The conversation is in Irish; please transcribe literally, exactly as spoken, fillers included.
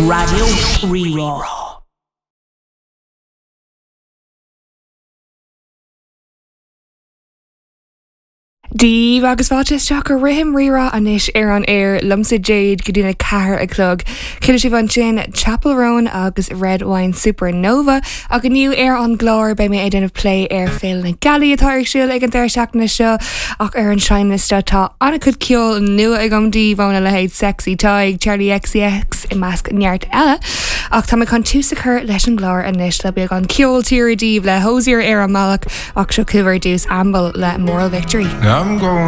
Raidió Rí-Rá. Dia daoibh agus fáilte isteach go Rithim Rí-Rá anois ar an aer liomsa Jade go dtí a ceathair a chlog. Chuala sibh ansin Chappell Roan agus Red Wine Supernova ach inniu ar an gclár beidh mé ag déanamh plé ar Féile na Gealaí atá ar siúl ag an deireadh seachtaine seo ach ar an seinnliosta tá an-chuid ceol nua agam daoibh óna leithéid Sexy Tadhg, Charli XCX i measc neart eile. Ach tá mé chun tús a chur leis an gclár anois le beagán ceol tíre daoibh le Hozier ar an mbealach ach seo chugaibh ar dtús Amble le Moral Victory. I'm going